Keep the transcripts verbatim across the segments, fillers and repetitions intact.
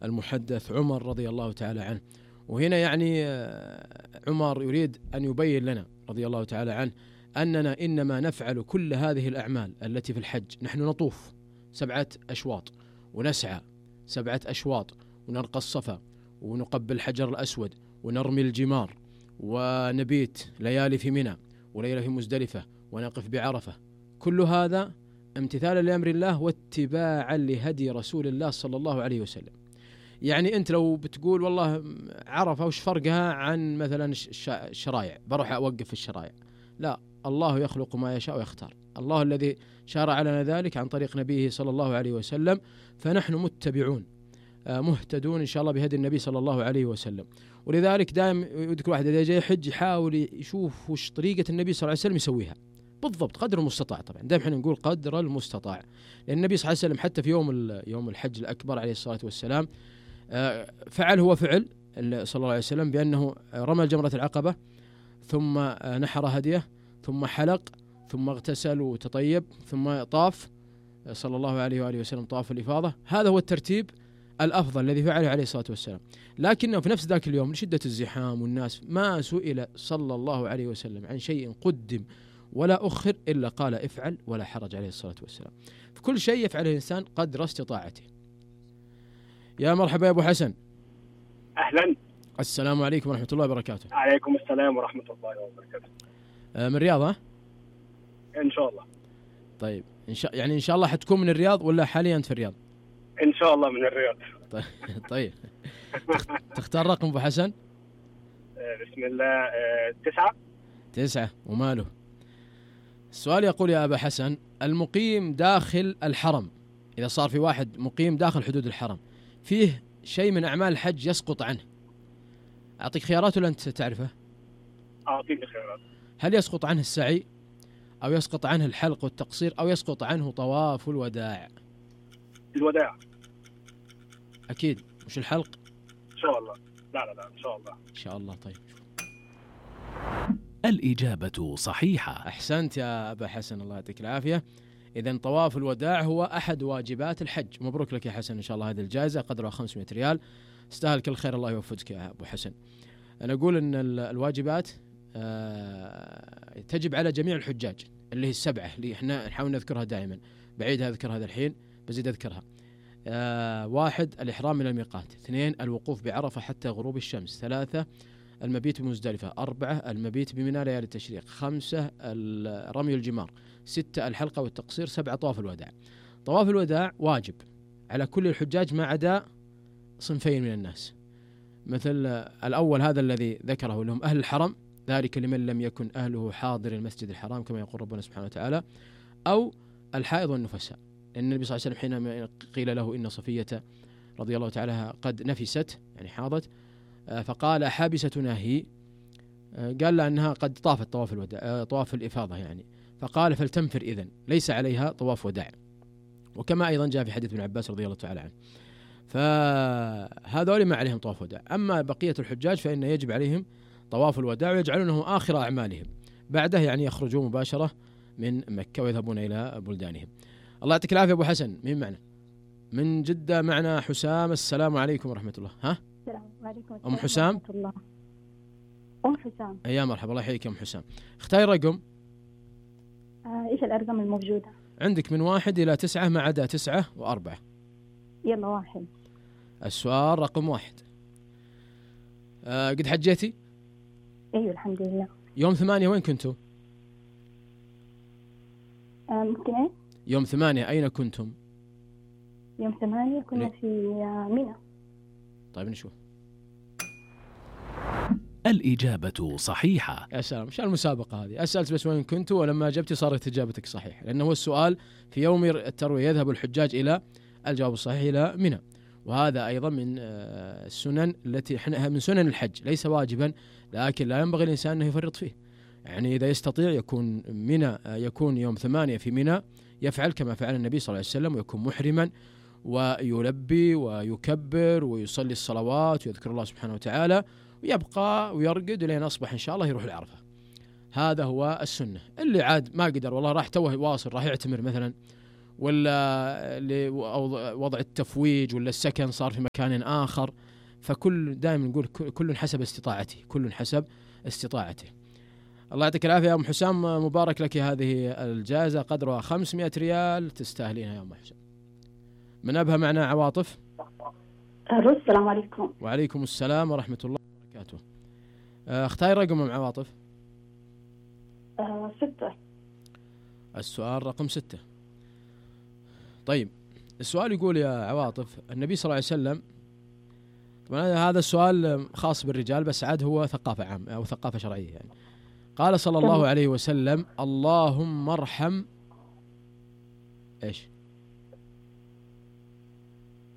المحدث عمر رضي الله تعالى عنه. وهنا يعني عمر يريد أن يبين لنا رضي الله تعالى عنه أننا إنما نفعل كل هذه الأعمال التي في الحج. نحن نطوف سبعة أشواط ونسعى سبعة أشواط ونرقى الصفا ونقبل الحجر الأسود ونرمي الجمار ونبيت ليالي في منى وليلة في مزدلفة ونقف بعرفة. كل هذا امتثالا لأمر الله واتباعا لهدي رسول الله صلى الله عليه وسلم. يعني أنت لو بتقول والله عرفة وش فرقها عن مثلا الشرايع، بروح أوقف في الشرايع، لا، الله يخلق ما يشاء ويختار. الله الذي شرع لنا ذلك عن طريق نبيه صلى الله عليه وسلم، فنحن متبعون مهتدون إن شاء الله بهدي النبي صلى الله عليه وسلم. ولذلك دائما يذكر واحد إذا جاي يحج يحاول يشوف وش طريقة النبي صلى الله عليه وسلم يسويها بالضبط قدر المستطاع. طبعا دائما احنا نقول قدر المستطاع، لأن النبي صلى الله عليه وسلم حتى في يوم يوم الحج الأكبر عليه الصلاة والسلام فعل هو فعل صلى الله عليه وسلم بأنه رمى الجمرة العقبة ثم نحر هديه ثم حلق ثم اغتسل وتطيب ثم طاف صلى الله عليه وآله وسلم طواف الإفاضة. هذا هو الترتيب الأفضل الذي فعله عليه الصلاة والسلام. لكنه في نفس ذاك اليوم لشدة الزحام والناس ما سئل صلى الله عليه وسلم عن شيء قدم ولا أخر إلا قال افعل ولا حرج عليه الصلاة والسلام. في كل شيء يفعله الإنسان قدر استطاعته. يا مرحبا يا أبو حسن. أهلا. السلام عليكم ورحمة الله وبركاته. عليكم السلام ورحمة الله وبركاته. آه من الرياض ها؟ إن شاء الله. طيب إن شاء يعني إن شاء الله حتكون من الرياض ولا حاليا أنت في الرياض؟ إن شاء الله من الرياض. طيب طيب تختار رقم أبو حسن؟ بسم الله. تسعة. تسعة وماله. السؤال يقول يا أبا حسن: المقيم داخل الحرم، إذا صار في واحد مقيم داخل حدود الحرم فيه شيء من أعمال الحج يسقط عنه، أعطيك خيارات ولا أنت تعرفه؟ أعطيني خيارات. هل يسقط عنه السعي أو يسقط عنه الحلق والتقصير أو يسقط عنه طواف الوداع؟ الوداع. أكيد مش الحلق؟ إن شاء الله. لا لا لا إن شاء الله. إن شاء الله. طيب الإجابة صحيحة. أحسنت يا أبا حسن الله يعطيك العافية. إذن طواف الوداع هو أحد واجبات الحج. مبروك لك يا حسن إن شاء الله هذه الجائزة قدرها خمسمائة ريال، استاهل كل خير، الله يوفقك يا أبو حسن. أنا أقول أن الواجبات تجب على جميع الحجاج اللي هي السبعة اللي إحنا نحاول نذكرها دائما، بعيد أذكر هذا الحين بزيد أذكرها. واحد الإحرام من الميقات، اثنين الوقوف بعرفة حتى غروب الشمس، ثلاثة المبيت بمزدلفة، أربعة المبيت بمنى ليالي التشريق، خمسة رمي الجمار، ستة الحلقة والتقصير، سبعة طواف الوداع. طواف الوداع واجب على كل الحجاج ما عدا صنفين من الناس، مثل الأول هذا الذي ذكره لهم أهل الحرم، ذلك لمن لم يكن أهله حاضر المسجد الحرام كما يقول ربنا سبحانه وتعالى، أو الحائض والنفساء، لأن النبي صلى الله عليه وسلم حينما قيل له إن صفية رضي الله تعالى قد نفست يعني حاضت فقال حابستنا هي، قال لها أنها قد طافت طواف الوداع طواف الإفاضة يعني، فقال فلتنفر إذن ليس عليها طواف وداع. وكما أيضا جاء في حديث ابن عباس رضي الله تعالى عنه، فهذول ما عليهم طواف وداع. أما بقية الحجاج فإن يجب عليهم طواف الوداع ويجعلونه آخر أعمالهم، بعده يعني يخرجون مباشرة من مكة ويذهبون إلى بلدانهم. الله يعطيك العافية أبو حسن. مين معنا؟ من جدة معنا حسام. السلام عليكم ورحمة الله. ها؟ السلام عليكم. أم حسام. ورحمة الله. أم حسام. يا مرحبا، الله يحييك يا أم حسام. اختاري رقم. آه، إيش الأرقام الموجودة؟ عندك من واحد إلى تسعة ما عدا تسعة وأربعة. يلا واحد. السؤال رقم واحد. آه قد حجيتي؟ أيوة الحمد لله. يوم ثمانية وين كنتوا؟ آه ممكن إيه؟ يوم ثمانية أين كنتم؟ يوم ثمانية كنا لي. في منى. طيب نشوف. الإجابة صحيحة. يا سلام، مش المسابقة هذه، أسألت بس وين كنتوا ولما أجبتي صارت إجابتك صحيح، لأنه هو السؤال في يوم التروية يذهب الحجاج إلى الجواب الصحيح إلى منى، وهذا أيضا من السنن التي احنا من سنن الحج، ليس واجبا لكن لا ينبغي الإنسان أنه يفرط فيه. يعني إذا يستطيع يكون منى يكون يوم ثمانية في منى يفعل كما فعل النبي صلى الله عليه وسلم، ويكون محرما ويلبي ويكبر ويصلي الصلوات ويذكر الله سبحانه وتعالى ويبقى ويرقد لين أصبح إن شاء الله يروح العرفة. هذا هو السنة. اللي عاد ما قدر والله راح توه واصل راح يعتمر مثلا ولا وضع التفويج ولا السكن صار في مكان آخر. فكل دائما نقول كل حسب استطاعته، كل حسب استطاعته. الله يعطيك العافية يا أم حسام، مبارك لك هذه الجائزة قدرها خمسمائة ريال، تستاهلينها يا أم حسام. من أبها معنا عواطف. السلام عليكم. وعليكم السلام ورحمة الله وبركاته. اختاري رقم أم عواطف. آه ستة. السؤال رقم ستة. طيب السؤال يقول يا عواطف، النبي صلى الله عليه وسلم، طبعا هذا السؤال خاص بالرجال بس عاد هو ثقافة عامة أو ثقافة شرعية يعني. قال صلى الله عليه وسلم: اللهم ارحم ايش؟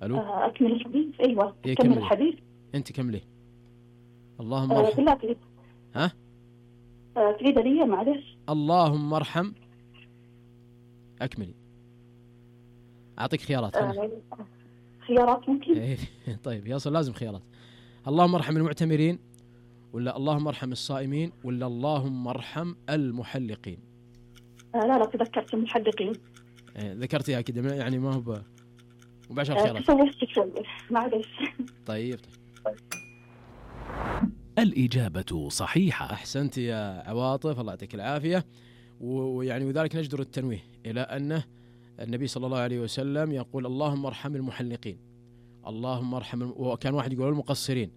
الو آه اكمل الحديث. ايوه إيه كمل الحديث. انت كملي. اللهم آه ارحم. بالله تريد. ها آه تريد لي معلش. اللهم ارحم. اكملي. اعطيك خيارات. آه خيارات ممكن. طيب يصل لازم خيارات. اللهم ارحم المعتمرين، ولا اللهم ارحم الصائمين، ولا اللهم ارحم المحلقين؟ آه لا لا تذكرت المحلقين. إيه ذكرتيها كده يعني ما هو مباشر آه خيارات. تسوفت شوي معلش. طيب طيب الإجابة صحيحة. أحسنت يا عواطف، الله يعطيك العافية. ويعني وذلك نجدر التنويه إلى أنه النبي صلى الله عليه وسلم يقول اللهم ارحم المحلقين، اللهم ارحم الم... وكان واحد يقول المقصرين،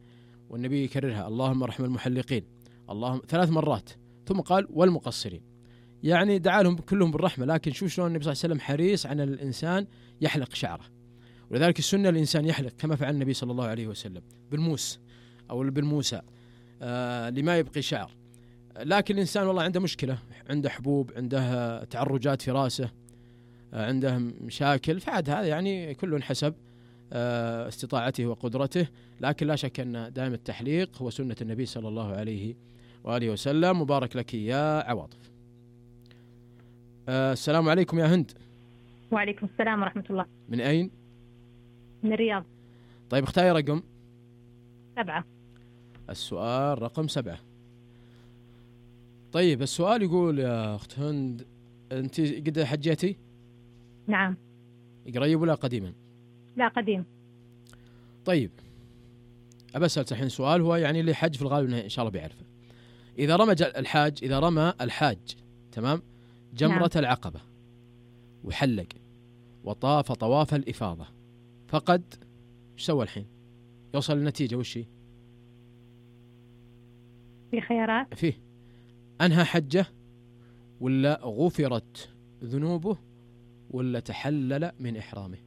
والنبي يكررها اللهم ارحم المحلقين اللهم ثلاث مرات، ثم قال والمقصرين. يعني دعا لهم كلهم بالرحمة، لكن شوف شلون النبي صلى الله عليه وسلم حريص على الإنسان يحلق شعره. ولذلك السنة الإنسان يحلق كما فعل النبي صلى الله عليه وسلم بالموس أو بالموسى آه لما يبقي شعر. لكن الإنسان والله عنده مشكلة، عنده حبوب، عنده تعرجات في راسه، آه عنده مشاكل، فعاد هذا يعني كل حسب آه استطاعته وقدرته. لكن لا شك أن دائم التحليق هو سنة النبي صلى الله عليه وآله وسلم. مبارك لك يا عواطف. آه السلام عليكم يا هند. وعليكم السلام ورحمة الله. من أين؟ من الرياض. طيب اختاري رقم. سبعة. السؤال رقم سبعة. طيب السؤال يقول يا أخت هند، أنت قد حجيتي؟ نعم. قريب ولا قديما؟ لا قديم. طيب أبسأل الحين سؤال هو يعني اللي حج في الغالب إن شاء الله بيعرفه. إذا رمى الحاج إذا رمى الحاج تمام جمرة نعم. العقبة وحلق وطاف طواف الإفاضة فقد ايش سوى الحين؟ يوصل النتيجة وش هي؟ في خيارات؟ فيه أنهى حجه، ولا غفرت ذنوبه، ولا تحلل من إحرامه؟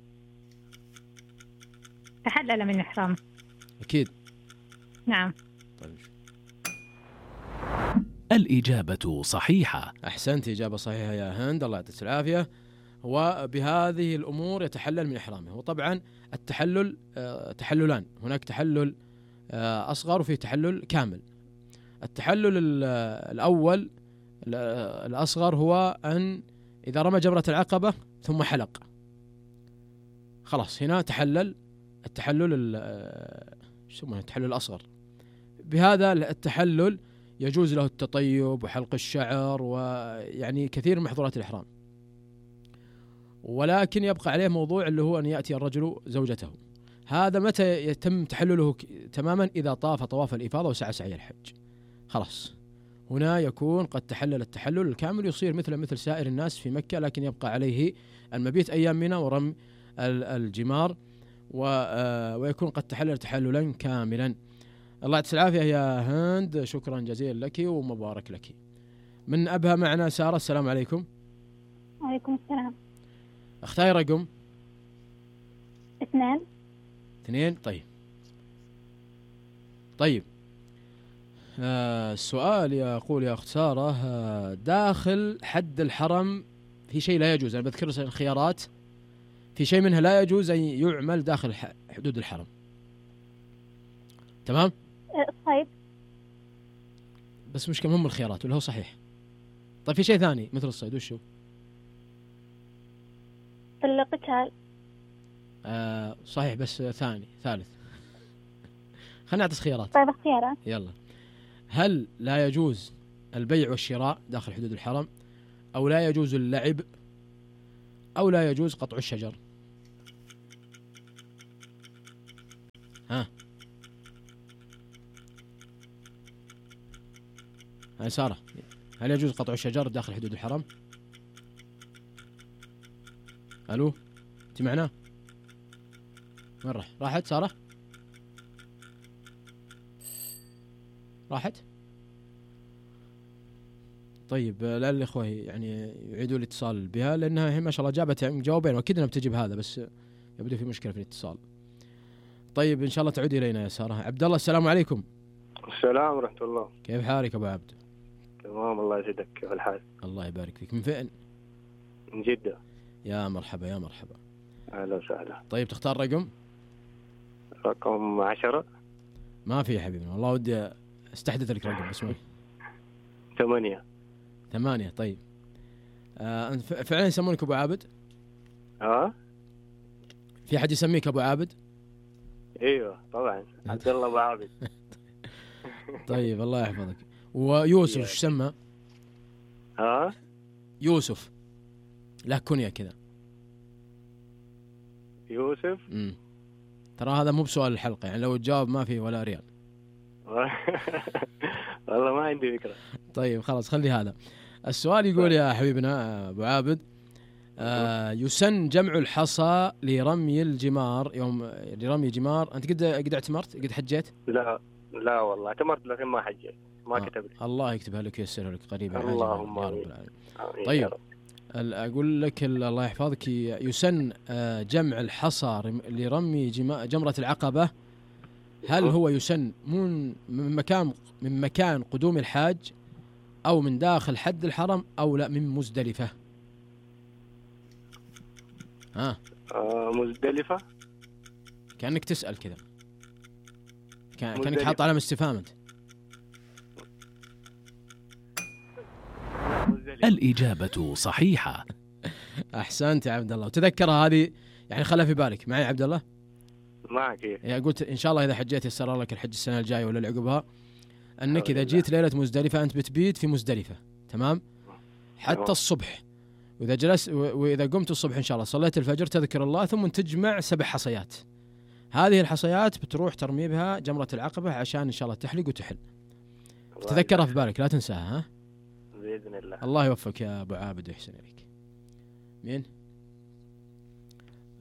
تحلل من إحرامه. أكيد. نعم. طيب. الإجابة صحيحة. أحسنت، إجابة صحيحة يا هند، الله يعطيك العافية. وبهذه الأمور يتحلل من إحرامه. وطبعا التحلل آه تحللان، هناك تحلل آه أصغر وفيه تحلل كامل. التحلل الأول الأصغر هو أن إذا رمى جمرة العقبة ثم حلق خلاص هنا تحلل التحلل يسمونه التحلل الأصغر. بهذا التحلل يجوز له التطيب وحلق الشعر ويعني كثير من محظورات الإحرام، ولكن يبقى عليه موضوع اللي هو أن يأتي الرجل زوجته. هذا متى يتم تحلله تماما؟ إذا طاف طواف الإفاضة وسعى سعي الحج، خلاص هنا يكون قد تحلل التحلل الكامل، يصير مثل مثل سائر الناس في مكة، لكن يبقى عليه المبيت أيام منى ورمي الجمار ويكون قد تحلل تحللا كاملا. الله يعطيك العافية يا هند، شكرا جزيلا لك ومبارك لك. من أبها معنا سارة. السلام عليكم. وعليكم السلام. اختاري رقم. اثنين. اثنين. طيب طيب آه السؤال يقول يا أخت سارة، آه داخل حد الحرم في شيء لا يجوز، أنا بذكر الخيارات، في شيء منها لا يجوز أن يعمل داخل حدود الحرم، تمام؟ طيب بس مش كم هم الخيارات ولا هو صحيح؟ طيب في شيء ثاني مثل الصيد وشو؟ القتال. آه صحيح بس ثاني ثالث. خلينا نعطي خيارات. طيب اختيارات. يلا. هل لا يجوز البيع والشراء داخل حدود الحرم، أو لا يجوز اللعب، أو لا يجوز قطع الشجر؟ ها هاي سارة، هل يجوز قطع الشجر داخل حدود الحرم؟ ألو أنت معنا؟ وين راح؟ راحت سارة؟ راحت؟ طيب لا الإخوة يعني يعيدوا الاتصال بها، لأنها هي ما شاء الله جابت جوابين وأكيد أنها بتجيب هذا، بس يبدو في مشكلة في الاتصال. طيب إن شاء الله تعودي إلينا يا سارة. عبد الله السلام عليكم. السلام ورحمة الله. كيف حالك أبو عبد؟ تمام الله يسعدك، كيف الحال؟ الله يبارك فيك. من فين؟ من جدة. يا مرحبا يا مرحبا. أهلا وسهلا. طيب تختار رقم؟ رقم عشرة. ما في يا حبيبنا، والله ودي استحدث لك رقم اسمه ثمانية. ثمانية. طيب آه فعلا يسمونك أبو عابد؟ ها؟ في أحد يسميك أبو عابد؟ ايوه طبعا، عبد الله ابو عابد. طيب الله يحفظك. ويوسف ايش سمى؟ ها؟ يوسف له كنية كذا. يوسف؟ امم ترى هذا مو بسؤال الحلقة، يعني لو تجاوب ما في ولا ريال. والله ما عندي فكرة. طيب خلاص خلي هذا السؤال. يقول يا حبيبنا أبو عابد، آه يسن جمع الحصى لرمي الجمار يوم لرمي جمار. أنت قد قد اعتمرت؟ قد حجيت؟ لا لا والله اعتمرت لكن ما حجيت، ما آه. كتب لي. الله يكتبها لك وييسرها لك قريبا. اللهم يا رب العالمين. طيب أقول لك الله يحفظك، يسن جمع الحصى لرمي جمرة العقبة. هل هو يسن من مكان من مكان قدوم الحاج، أو من داخل حد الحرم، أو لا من مزدلفة؟ ها آه مزدلفة. كأنك تسأل كذا، كأنك حاط علامة استفهام أنت. الإجابة صحيحة. أحسنت يا عبد الله. وتذكرها هذه يعني خلها في بالك. معي عبد الله؟ معك. يا قلت إن شاء الله إذا حجيت يسر لك الحج السنة الجاية ولا اللي عقبها، أنك إذا جيت ليلة مزدلفة أنت بتبيت في مزدلفة، تمام؟ حتى الصبح. وإذا جلست وإذا قمت الصبح إن شاء الله صليت الفجر تذكر الله، ثم تجمع سبع حصيات. هذه الحصيات بتروح ترمي بها جمرة العقبة عشان إن شاء الله تحلق وتحل. تذكرها في بالك لا تنساها. ها بإذن الله. الله يوفقك يا أبو عابد ويحسن إليك. مين؟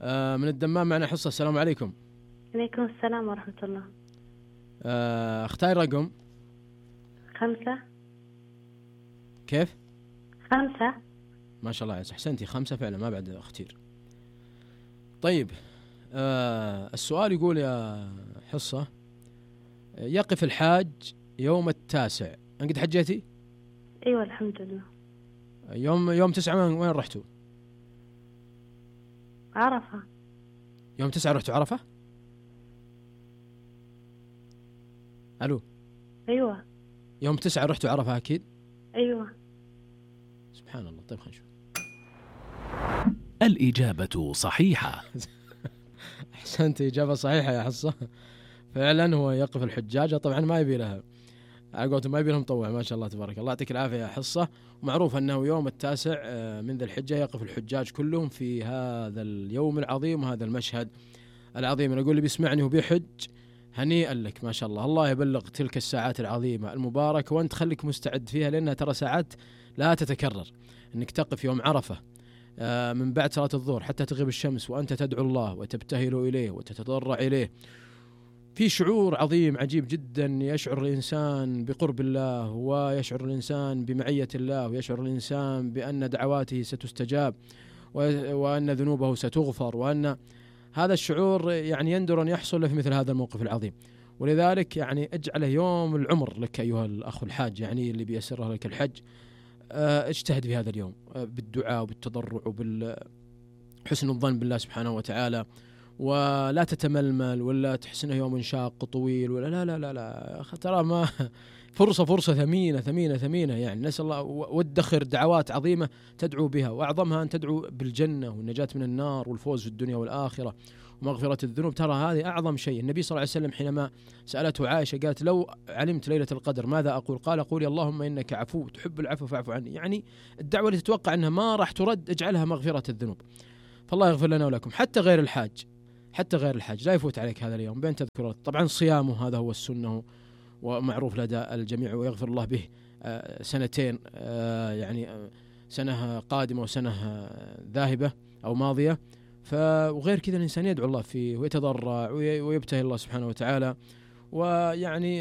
آه من الدمام معنا حصة. السلام عليكم. عليكم السلام ورحمة الله. آه اختاري رقم. خمسة. كيف؟ خمسة. ما شاء الله عز أحسنتي، خمسة فعلا ما بعد اختير. طيب آه السؤال يقول يا حصة، يقف الحاج يوم التاسع. أنت قد حجيتي؟ أيوة الحمد لله. يوم يوم تسعة وين رحتوا؟ عرفة. يوم تسعة رحتوا عرفة؟ ألو. أيوة. يوم تسعة رحتوا عرفة أكيد؟ أيوة. سبحان الله. طيب خلينا نشوف. الإجابة صحيحة. أحسنت، إجابة صحيحة يا حصة. فعلا هو يقف الحجاج، طبعا ما يبي لها على قولتهم ما يبي لهم مطوع. ما شاء الله تبارك الله. يعطيك العافية يا حصة. ومعروف أنه يوم التاسع من ذي الحجة يقف الحجاج كلهم في هذا اليوم العظيم وهذا المشهد العظيم. أنا أقول اللي بيسمعني وبيحج هنيئا لك، ما شاء الله. الله يبلغ تلك الساعات العظيمة المباركة، وأنت خليك مستعد فيها، لأنها ترى ساعات لا تتكرر. أنك تقف يوم عرفة من بعد صلاة الظهر حتى تغيب الشمس وأنت تدعو الله وتبتهل إليه وتتضرع إليه، في شعور عظيم عجيب جدا. يشعر الإنسان بقرب الله، ويشعر الإنسان بمعية الله، ويشعر الإنسان بأن دعواته ستستجاب، وأن ذنوبه ستغفر، وأن هذا الشعور يعني يندر أن يحصل في مثل هذا الموقف العظيم. ولذلك يعني اجعله يوم العمر لك أيها الأخ الحاج، يعني اللي بيسره لك الحج. اجتهد في هذا اليوم بالدعاء وبالتضرع وبالحسن الظن بالله سبحانه وتعالى، ولا تتململ ولا تحسنه يوم شاق طويل ولا لا لا لا لا ترى ما فرصة فرصة ثمينة ثمينة ثمينة. يعني نسأل الله وادخر دعوات عظيمة تدعو بها، وأعظمها أن تدعو بالجنة والنجاة من النار والفوز في الدنيا والآخرة ومغفرة الذنوب، ترى هذه أعظم شيء. النبي صلى الله عليه وسلم حينما سألته عائشة قالت لو علمت ليلة القدر ماذا أقول؟ قال قولي اللهم إنك عفو تحب العفو فاعف عني. يعني الدعوة اللي تتوقع أنها ما راح ترد اجعلها مغفرة الذنوب. فالله يغفر لنا ولكم. حتى غير الحاج حتى غير الحاج لا يفوت عليك هذا اليوم بين تذكر. طبعا صيامه هذا هو السنة ومعروف لدى الجميع، ويغفر الله به سنتين، يعني سنة قادمة وسنة ذاهبة أو ماضية. فغير كذا الإنسان يدعو الله فيه ويتضرع ويبتهل الله سبحانه وتعالى، ويعني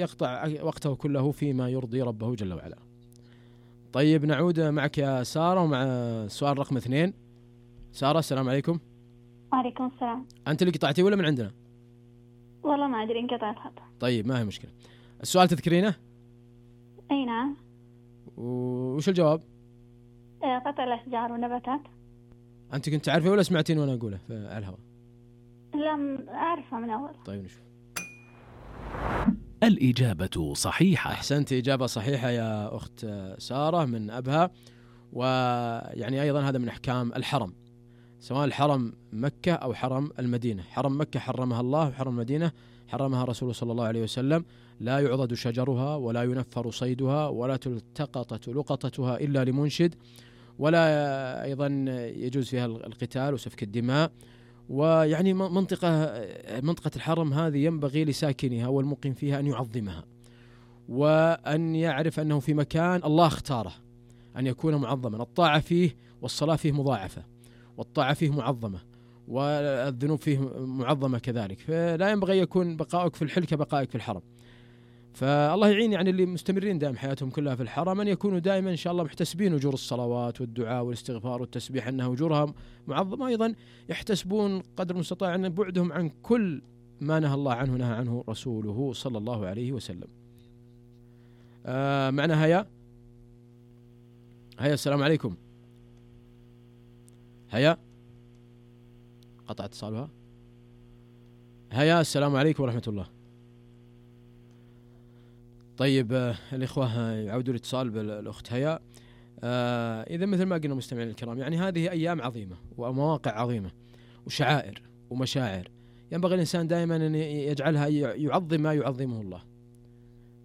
يقطع وقته كله فيما يرضي ربه جل وعلا. طيب نعود معك يا سارة ومع السؤال رقم اثنين. سارة السلام عليكم. وعليكم السلام. أنت اللي قطعتي ولا من عندنا؟ والله ما أدري انقطع الخط. طيب ما هي مشكلة. السؤال تذكرينه؟ أي نعم. وش الجواب؟ قطع الأشجار والنباتات. أنت كنت عارفة ولا سمعتين وأنا أقوله على الهواء؟ لا أعرفها من أول. طيب نشوف. الإجابة صحيحة. أحسنت، إجابة صحيحة يا أخت سارة من أبها. ويعني أيضا هذا من أحكام الحرم، سواء الحرم مكة أو حرم المدينة. حرم مكة حرمها الله، وحرم المدينة حرمها رسوله صلى الله عليه وسلم. لا يعضد شجرها ولا ينفر صيدها ولا تلتقط لقطتها إلا لمنشد، ولا أيضا يجوز فيها القتال وسفك الدماء. ويعني منطقة منطقة الحرم هذه ينبغي لساكنها والمقيم فيها أن يعظمها، وأن يعرف أنه في مكان الله اختاره أن يكون معظما. الطاعة فيه والصلاة فيه مضاعفة، والطاعة فيه معظمة، والذنوب فيه معظمة كذلك. فلا ينبغي يكون بقائك في الحل كبقائك في الحرم. فالله يعين يعني اللي مستمرين دائم حياتهم كلها في الحرم أن يكونوا دائما إن شاء الله محتسبين أجور الصلوات والدعاء والاستغفار والتسبيح أنها أجورها معظمة. أيضا يحتسبون قدر المستطاع أن بعدهم عن كل ما نهى الله عنه نهى عنه رسوله صلى الله عليه وسلم. آه معنا هيا. هيا السلام عليكم. هيا قطع اتصالها. هيا السلام عليكم ورحمة الله. طيب آه الإخوة يعودوا الاتصال بالأخت هيا. آه إذا مثل ما قلنا مستمعين الكرام، يعني هذه أيام عظيمة ومواقع عظيمة وشعائر ومشاعر، ينبغي الإنسان دائما أن يجعلها يعظم ما يعظمه الله،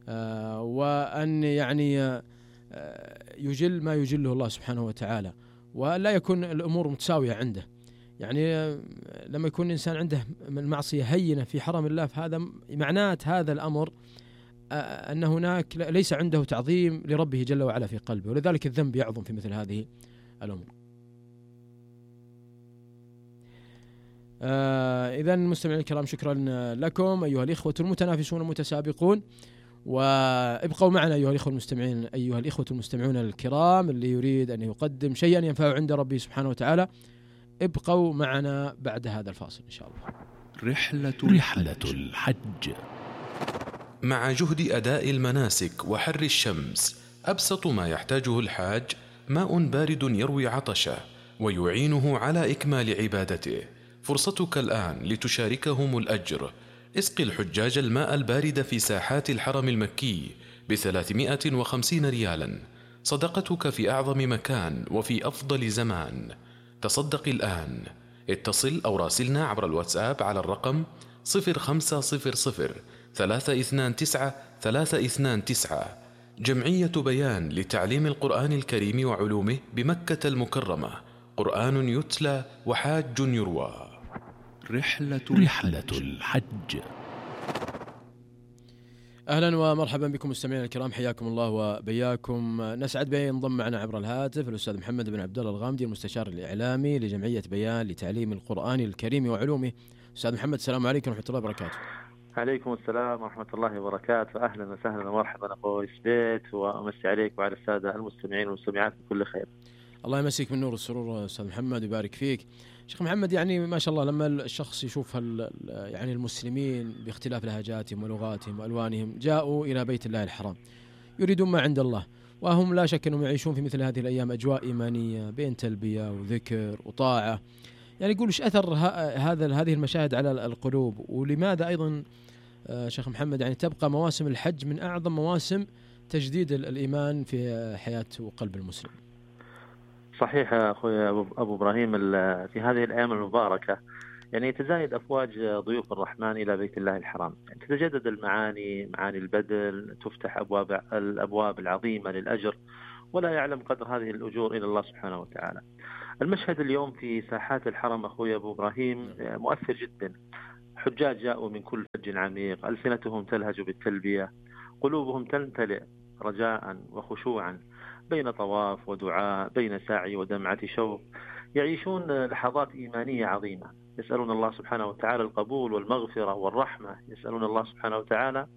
آه وأن يعني آه يجل ما يجله الله سبحانه وتعالى، ولا يكون الأمور متساوية عنده. يعني لما يكون الإنسان عنده المعصية هينة في حرم الله، فهذا معناه هذا الأمر أن هناك ليس عنده تعظيم لربه جل وعلا في قلبه، ولذلك الذنب يعظم في مثل هذه الأمور. آه إذن مستمعين الكرام، شكرا لكم أيها الإخوة المتنافسون المتسابقون، وابقوا معنا أيها الإخوة المستمعين أيها الإخوة المستمعون الكرام. اللي يريد أن يقدم شيئا ينفعه عند ربه سبحانه وتعالى ابقوا معنا بعد هذا الفاصل إن شاء الله. رحلة رحلة الحج. مع جهد أداء المناسك وحر الشمس، أبسط ما يحتاجه الحاج ماء بارد يروي عطشه ويعينه على إكمال عبادته. فرصتك الآن لتشاركهم الأجر. اسق الحجاج الماء البارد في ساحات الحرم المكي بثلاثمائة وخمسين ريالا، صدقتك في أعظم مكان وفي أفضل زمان. تصدق الآن. اتصل أو راسلنا عبر الواتساب على الرقم صفر خمسة صفر صفر ثلاثة اثنان تسعة ثلاثة اثنان تسعة. جمعية بيان لتعليم القرآن الكريم وعلومه بمكة المكرمة. قرآن يتلى وحاج يروى. رحلة رحلة الحج. أهلا ومرحبا بكم مستمعينا الكرام، حياكم الله وبياكم. نسعد بأن ينضم معنا عبر الهاتف الأستاذ محمد بن عبد الله الغامدي، المستشار الإعلامي لجمعية بيان لتعليم القرآن الكريم وعلومه. أستاذ محمد السلام عليكم ورحمة الله وبركاته. عليكم السلام ورحمة الله وبركاته. أهلا وسهلا ومرحبا أخوي سبيت، وأمسي عليك وعلى السادة المستمعين والمستمعات بكل خير. الله يمسيك من نور السرور أستاذ محمد ويبارك فيك. شيخ محمد، يعني ما شاء الله لما الشخص يشوف يعني المسلمين باختلاف لهجاتهم ولغاتهم وألوانهم جاءوا إلى بيت الله الحرام يريدون ما عند الله، وهم لا شك أنهم يعيشون في مثل هذه الأيام أجواء إيمانية بين تلبية وذكر وطاعة. يعني يقول إيش أثر هذا هذه المشاهد على القلوب، ولماذا أيضا شيخ محمد يعني تبقى مواسم الحج من أعظم مواسم تجديد الإيمان في حياة وقلب المسلم؟ صحيح يا أخوي أبو إبراهيم، في هذه الأيام المباركة يعني يتزايد أفواج ضيوف الرحمن إلى بيت الله الحرام، يعني تتجدد المعاني، معاني البذل، تفتح أبواب الأبواب العظيمة للأجر، ولا يعلم قدر هذه الأجور إلى الله سبحانه وتعالى. المشهد اليوم في ساحات الحرم أخوي أبو إبراهيم مؤثر جدا. حجاج جاءوا من كل فج عميق، ألسنتهم تلهج بالتلبية، قلوبهم تمتلئ رجاء وخشوعا بين طواف ودعاء، بين سعي ودمعة شوق، يعيشون لحظات إيمانية عظيمة، يسألون الله سبحانه وتعالى القبول والمغفرة والرحمة، يسألون الله سبحانه وتعالى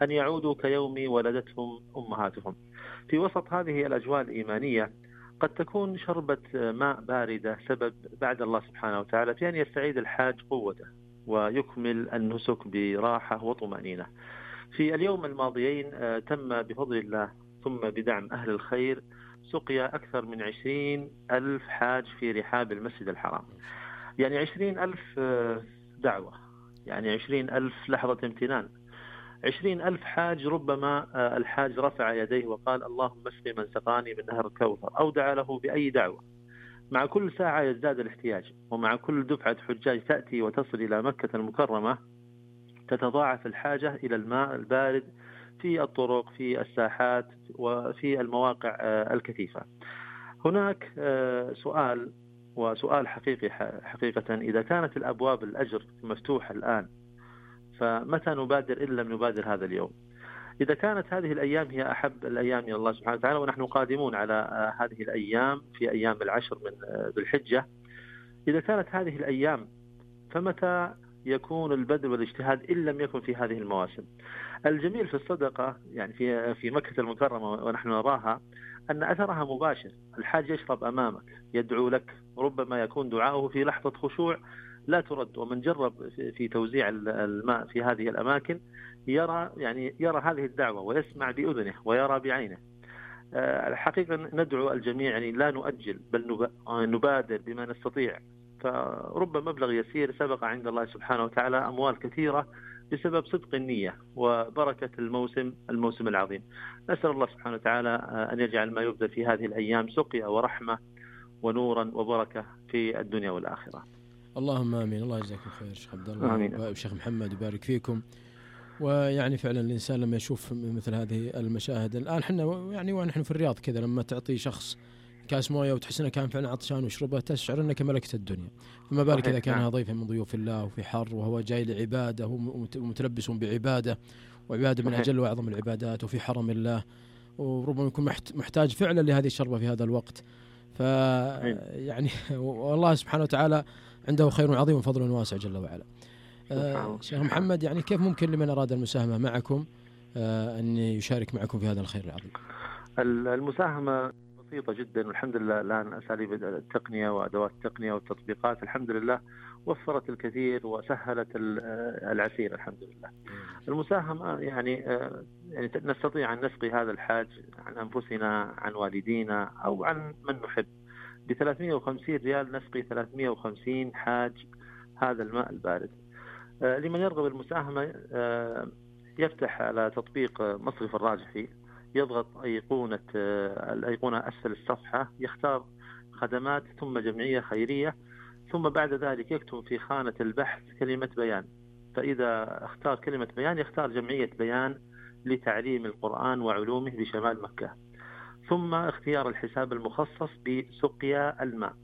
أن يعودوا كيوم ولدتهم أمهاتهم. في وسط هذه الأجواء الإيمانية قد تكون شربة ماء باردة سبب بعد الله سبحانه وتعالى في أن يستعيد الحاج قوته ويكمل النسك براحة وطمأنينة. في اليوم الماضيين تم بفضل الله ثم بدعم أهل الخير سقيا أكثر من عشرين ألف حاج في رحاب المسجد الحرام. يعني عشرين ألف دعوة، يعني عشرين ألف لحظة امتنان، عشرين ألف حاج. ربما الحاج رفع يديه وقال اللهم اسقي من سقاني من نهر الكوثر، أو دعا له بأي دعوة. مع كل ساعة يزداد الاحتياج، ومع كل دفعة حجاج تأتي وتصل إلى مكة المكرمة تتضاعف الحاجة إلى الماء البارد في الطرق، في الساحات، وفي المواقع الكثيفة. هناك سؤال، وسؤال حقيقي حقيقة، إذا كانت الأبواب الأجر مفتوحة الآن فمتى نبادر إن لم نبادر هذا اليوم؟ إذا كانت هذه الأيام هي أحب الأيام إلى الله سبحانه وتعالى، ونحن قادمون على هذه الأيام في أيام العشر من ذي الحجة، إذا كانت هذه الأيام فمتى يكون البذل والاجتهاد إن لم يكن في هذه المواسم؟ الجميل في الصدقة يعني في في مكة المكرمة ونحن نراها أن أثرها مباشر. الحاج يشرب أمامك، يدعو لك، ربما يكون دعاؤه في لحظة خشوع لا ترد. ومن جرب في توزيع الماء في هذه الأماكن يرى يعني يرى هذه الدعوة ويسمع بأذنه ويرى بعينه. الحقيقة ندعو الجميع يعني لا نؤجل بل نبادر بما نستطيع. فرب مبلغ يسير سبق عند الله سبحانه وتعالى أموال كثيرة بسبب صدق النية وبركة الموسم الموسم العظيم. نسأل الله سبحانه وتعالى أن يجعل ما يبذل في هذه الأيام سقيا ورحمة ونورا وبركة في الدنيا والآخرة. اللهم آمين. الله يجزاكم خير شيخ عبد الله وشيخ محمد، يبارك فيكم. ويعني فعلا الإنسان لما يشوف مثل هذه المشاهد الآن، احنا يعني ونحن في الرياض كذا، لما تعطي شخص كاس مويه وتحس انه كان فعلا عطشان ويشربها تشعر انك ملكت الدنيا، فما بالك اذا كان ضيفا من ضيوف الله وفي حر وهو جاي لعباده ومتلبس بعباده، وعباده من اجل واعظم العبادات وفي حرم الله، وربما يكون محتاج فعلا لهذه الشربه في هذا الوقت. ف يعني والله سبحانه وتعالى عنده خير عظيم وفضل واسع جل وعلا. آه شيخ محمد، يعني كيف ممكن لمن اراد المساهمه معكم آه ان يشارك معكم في هذا الخير العظيم؟ المساهمه بسيطة جدا، والحمد لله الآن أساليب التقنية وأدوات التقنية والتطبيقات الحمد لله وفرت الكثير وسهلت العسير الحمد لله. المساهمة يعني, يعني نستطيع أن نسقي هذا الحاج عن أنفسنا، عن والدينا، أو عن من نحب. ب ثلاثمئة وخمسين ريال نسقي ثلاثمئة وخمسين حاج هذا الماء البارد. لمن يرغب المساهمة يفتح على تطبيق مصرف الراجحي، يضغط أيقونة الأيقونة أسفل الصفحة، يختار خدمات ثم جمعية خيرية، ثم بعد ذلك يكتب في خانة البحث كلمة بيان. فإذا اختار كلمة بيان يختار جمعية بيان لتعليم القرآن وعلومه بشمال مكة، ثم اختيار الحساب المخصص بسقيا الماء،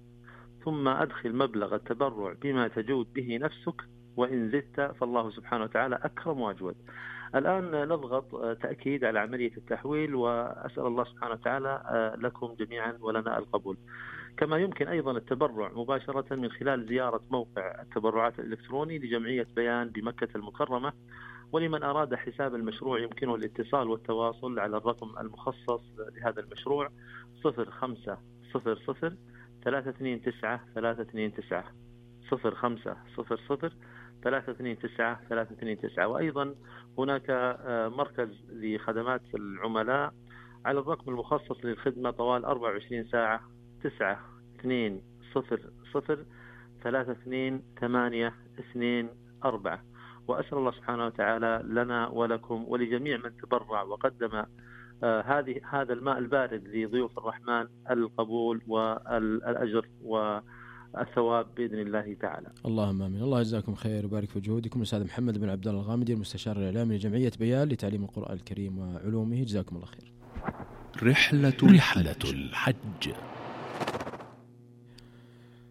ثم أدخل مبلغ التبرع بما تجود به نفسك، وإن زدت فالله سبحانه وتعالى أكرم وأجود. الآن نضغط تأكيد على عملية التحويل، وأسأل الله سبحانه وتعالى لكم جميعا ولنا القبول. كما يمكن أيضا التبرع مباشرة من خلال زيارة موقع التبرعات الإلكتروني لجمعية بيان بمكة المكرمة. ولمن أراد حساب المشروع يمكنه الاتصال والتواصل على الرقم المخصص لهذا المشروع صفر خمسة صفر صفر ثلاثة اثنين تسعة ثلاثة اثنين تسعة صفر خمسة صفر صفر ثلاثة اثنين تسعة ثلاثة اثنين تسعة. وأيضا هناك مركز لخدمات العملاء على الرقم المخصص للخدمة طوال أربعة وعشرين ساعة تسعة اثنين صفر صفر ثلاثة اثنين ثمانية اثنين أربعة. وأسأل الله سبحانه وتعالى لنا ولكم ولجميع من تبرع وقدم آه هذه هذا الماء البارد لضيوف الرحمن القبول والأجر و الثواب بإذن الله تعالى. اللهم آمين. الله يجزاكم خير ويبارك في جهودكم. الأستاذ محمد بن عبد الله الغامدي المستشار الإعلامي لجمعية بيان لتعليم القرآن الكريم وعلومه، جزاكم الله خير. رحلة رحلة الحج.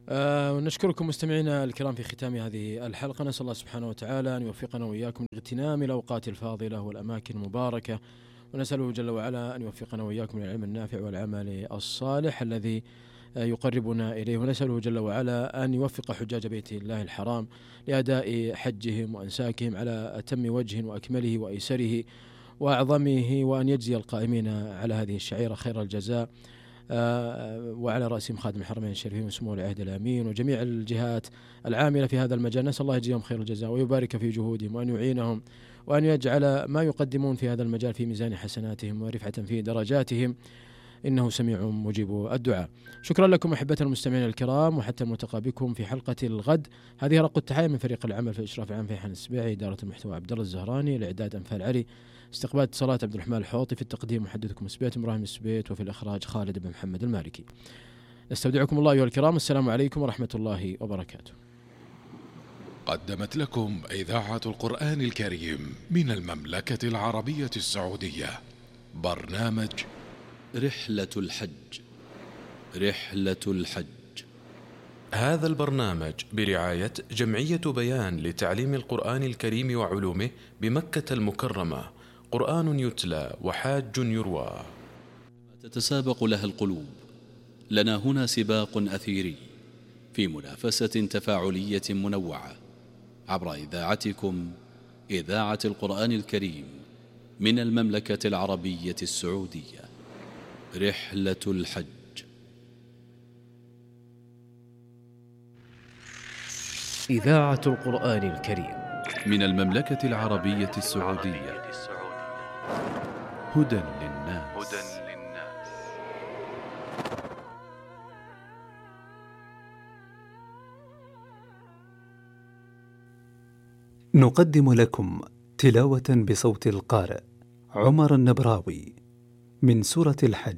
آه ونشكركم مستمعينا الكرام في ختام هذه الحلقة. نسأل الله سبحانه وتعالى أن يوفقنا وإياكم لاغتنام الأوقات الفاضلة والأماكن المباركة، ونسأله جل وعلا أن يوفقنا وإياكم للعلم النافع والعمل الصالح الذي يقربنا إليه، ونسأله جل وعلا أن يوفق حجاج بيت الله الحرام لأداء حجهم وأنساكهم على أتم وجه وأكمله وأيسره وأعظمه، وأن يجزي القائمين على هذه الشعيرة خير الجزاء، وعلى رأسهم خادم الحرمين الشريفين وسمو العهد الأمين وجميع الجهات العاملة في هذا المجال. نسأل الله يجزيهم خير الجزاء ويبارك في جهودهم وأن يعينهم وأن يجعل ما يقدمون في هذا المجال في ميزان حسناتهم ورفعة في درجاتهم، إنه سميع مجيب الدعاء. شكرا لكم أحبتنا المستمعين الكرام، وحتى الملتقى بكم في حلقة الغد. هذه رق التحية من فريق العمل في الإشراف العام فيحان السبيعي، إدارة المحتوى عبد الله الزهراني، الإعداد أنفال علي، استقبال اتصالات عبد الرحمن الحوطي، في التقديم محدثكم السبيت إبراهيم السبيت، وفي الإخراج خالد بن محمد المالكي. نستودعكم الله أيها الكرام، السلام عليكم ورحمة الله وبركاته. قدمت لكم إذاعة القرآن الكريم من المملكة العربية السعودية برنامج رحلة الحج. رحلة الحج. هذا البرنامج برعاية جمعية بيان لتعليم القرآن الكريم وعلومه بمكة المكرمة، قرآن يتلى وحاج يروى. تتسابق لها القلوب، لنا هنا سباق أثيري في منافسة تفاعلية منوعة عبر إذاعتكم إذاعة القرآن الكريم من المملكة العربية السعودية. رحلة الحج. إذاعة القرآن الكريم من المملكة العربية السعودية. هدى للناس. نقدم لكم تلاوة بصوت القارئ عمر النبراوي من سورة الحج.